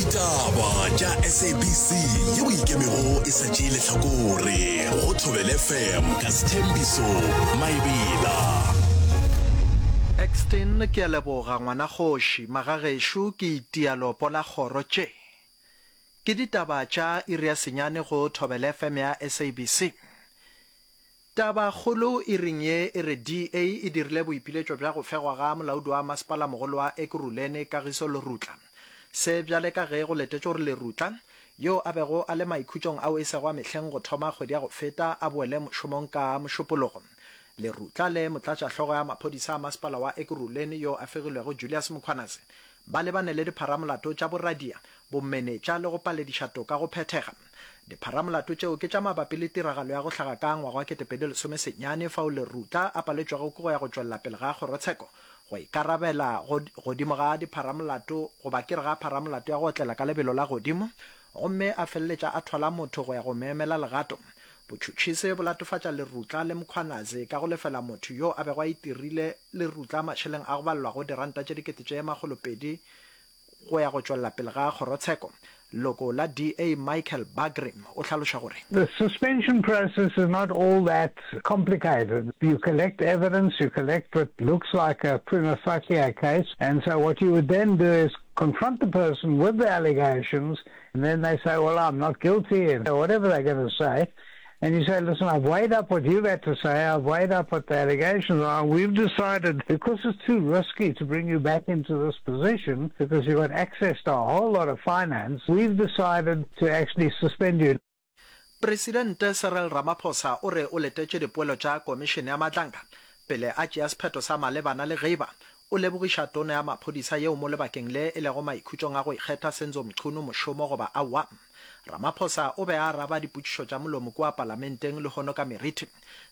Ditaba tša SABC yeo e ikemego e sa tšee lehlakore go Thobela FM ka Sthembiso Maebela. Exton, Ke a leboga ngwana kgoši. Magagešo ke itia lopo la kgoro tše. Ke ditaba tša iri ya senyane go Thobela FM ya SABC. Tabakgolo iring ye e re DA e dirile boipiletšo bja go fegwa ga molaodi wa masepalamogolo wa Ekurhuleni Kagiso Lerutla. Se bjale ka ge go letetšwe gore Lerutla, yo a bego a le maikhutšong ao e sego a mehleng go thoma kgwedi ya go feta, a boele mošomong ka Mošupologo. Lerutla le motlatšahlogo ya maphodisa a masepala wa Ekurhuleni yo a fegilwego Julius Mkhwanazi ba lebane le dipharamolato tša boradia, bomenetša le go palediša toka go phethega. Dipharamolato tšeo ke tša mabapi le tiragalo ya go hlaga ka ngwaga wa 2019 fao Lerutla a paletšwego ke go ya go tšwelela pele ga kgorotsheko go ikarabela godimo ga dipharamolato goba ke re ga pharamolato ya go otlela ka lebelo la godimo gomme a feleletša a thwala motho go ya go mo emela legato. Botšhotšhisi bo latofatša Lerutla le Mkhwanazi ka go lefela motho yo a bego a itirile Lerutla mašeleng a go balelwago diranta tše 2000 Go ya go tšwelela pele ga kgorotsheko, leloko la DA Michael Bagraim o hlaloša gore. The suspension process is not all that complicated. You collect evidence, you collect what looks like a prima facie case, and so what you would then do is confront the person with the allegations, and then they say, well, I'm not guilty, and whatever they're going to say. And you say, listen, I've weighed up what you've had to say, I've weighed up what the allegations are, and we've decided, because it's too risky to bring you back into this position, because you've got access to a whole lot of finance, we've decided to actually suspend you. Presidente Cyril Ramaphosa o re o letetše dipoelo tša Komišene ya Matlanka pele a tšea sephetho sa malebana le ge eba o lebogiša Tona ya Maphodisa yeo mo lebakeng le e lego maikhutšong a go ikgetha Senzo Mchunu mošomo goba aowa. Ramaphosa o be a araba dipotšišo tša molomo kua palamenteng lehono ka meriti.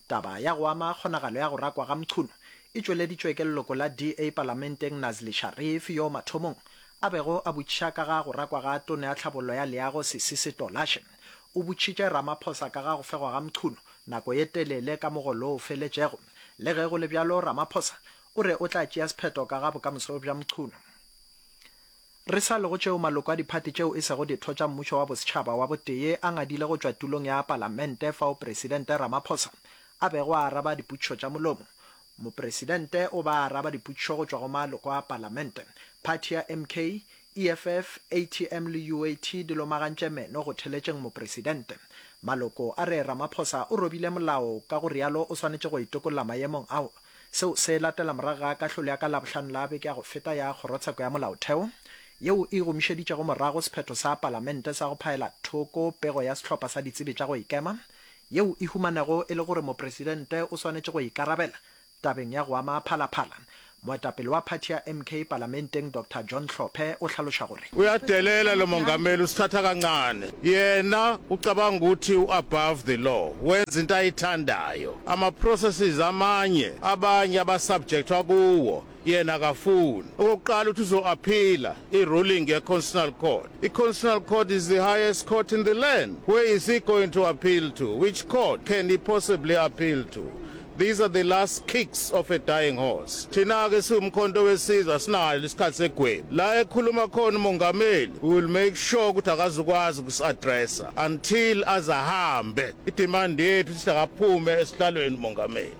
Taba ya go ama kgonagalo ya go rakwa ga Mchunu e tšweleditšwe ke leloko la DA palamenteng Nazli Sharif yo mathomong a bego a botšiša ka ga go rakwa ga Tona ya Tlhabollo ya Leago Sisisi Tolashe. O botšitše Ramaphosa ka ga go fegwa ga Mchunu nako ye telele ka mogolo o feletšego. Le ge go le bjalo Ramaphosa o re o tla tšea sephetho ka ga bokamoso bja Mchunu. Re sa le go tšeo maloko a diphathi tšeo e sego ditho tša mmušo wa bosetšhaba wa botee a ngadile go tšwa tulong ya palamente fao Presidente Ramaphosa a bego a araba dipotšišo tša molomo. Mopresidente o ba a araba dipotšišo go tšwa go maloko a palamente. Phathi ya MK, EFF, ATM le UAT di lomagantše meno go theletšeng mopresidente. Maloko a re Ramaphosa o robile molao ka go realo o swanetše go itokolla maemong ao Seo se latela morago ga kahlolo ya ka Labohlano la beke ya go feta ya Kgorotsheko ya Molaotheo yeo e gomišeditšego morago sephetho sa Palamente sa go phaela thoko pego ya sehlopha sa ditsebi tša go ikema yeo e humanego e le gore mopresidente o swanetše go ikarabela tabeng ya go ama Phala Phala. Moetapele wa phathi ya MK Palamenteng Doctor John Hlophe o hlaloša gore. Uyadelela lo mongameli usithatha kancane yena ucabanga ukuthi u above the law wenza into ayithandayo ama processes amanye abanye aba subjectwa kuwo yena akafuni okokuqala uthi uzo appeala i ruling ye constitutional court i constitutional court is the highest court in the land where is he going to appeal to which court can he possibly appeal to These are the last kicks of a dying horse. Thina-ke siwumkhonto wesizwe asinayo isikhathi segwebu. La ekhuluma khona umongameli, we will make sure ukuthi akazukwazi ukusi-addressa until aze ahambe. I-demand yethu sithi akaphume esihlalweni umongameli.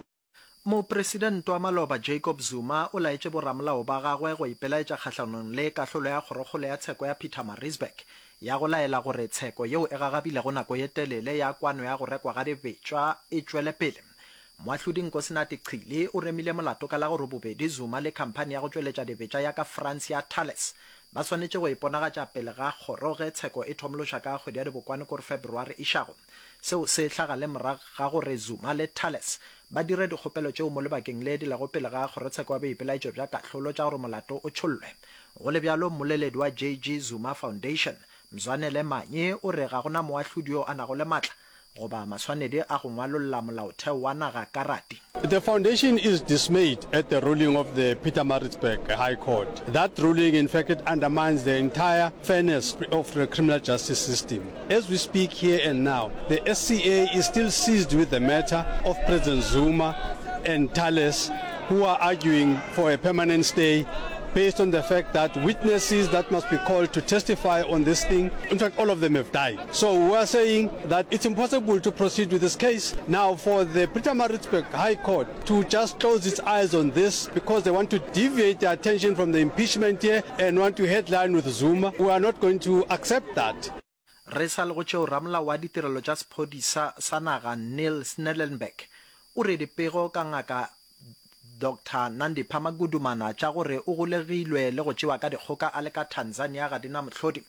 Mopresidente wa maloba Jacob Zuma o laetše boramolao ba gagwe go ipelaetša kgahlanong le kahlolo ya Kgorokgolo ya Tsheko ya Pietermaritzburg ya go laela gore tsheko yeo e gagabilego nako ye telele ya kwano ya go rekwa ga dibetšwa e tšwele pele. Moahlodi Nkosinathi Chili o remile molato ka la gore bobedi Zuma le khamphani ya go tšweletša dibetša ya ka France ya Thales ba swanetše go iponagatša pele ga kgoro ge tsheko e thomološa ka kgwedi ya Dibokwane kore February išago. Seo se hlaga le morago ga gore Zuma le Thales ba dire dikgopelo tšeo mo lebakeng le di lego pele ga kgorotsheko ya boipelaetšo bja kahlolo tša gore molato o tšhollwe. Go le bjalo, mmoleledi wa JG Zuma Foundation, Mzwanele Manyi o re ga go na moahlodi yo a nago le matla goba maswanedi a go ngwalolla molaotheo wa naga karate. The foundation is dismayed at the ruling of the Pietermaritzburg High Court. That ruling in fact it undermines the entire fairness of the criminal justice system. As we speak here and now, the SCA is still seized with the matter of President Zuma and Thales who are arguing for a permanent stay. based on the fact that witnesses that must be called to testify on this thing, in fact all of them have died. So we are saying that it's impossible to proceed with this case. Now for the Pietermaritzburg High Court to just close its eyes on this because they want to deviate the attention from the impeachment here and want to headline with Zuma, we are not going to accept that. Re sa le go tšeo, ramolao wa ditirelo tša sephodisa sa naga Neil Snellenberg o re dipego ka Ngaka Doctor Nandipha Magudumana tša gore o golegilwe le go tšewa ka dikgoka a le ka Tanzania ga di na mohlodi.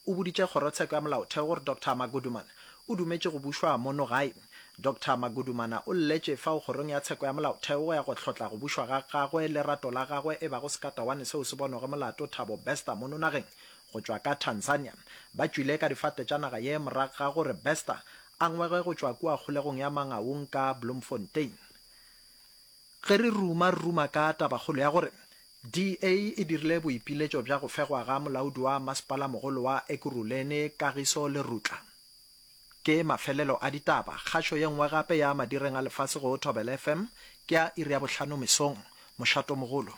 O boditše kgorotsheko ya molaotheo gore Doctor Magudumana o dumetše go bušwa mono gae. Doctor Magudumana o lletše fao kgorong ya tsheko ya molaotheo go ya go hlotla go bušwa ga gagwe lerato la gagwe e bago sekatawane seo se bonwego molato Thabo Bester mono nageng go tšwa ka Tanzania. Ba tšwile ka difate tša naga ye morago ga gore Bester a ngwege go tšwa kua kgolegong ya Mangaung ka Bloemfontein. Ge re ruma re ruma ka tabakgolo ya gore DA e dirile boipiletšo bja go fegwa ga molaodi wa masepalamogolo wa Ekurhuleni Kagiso Lerutla. Ke mafelelo a ditaba. Kgašo ye nngwe gape ya madireng a lefase go Thobela FM ke ya iri ya bohlano mesong. Mošatomogolo.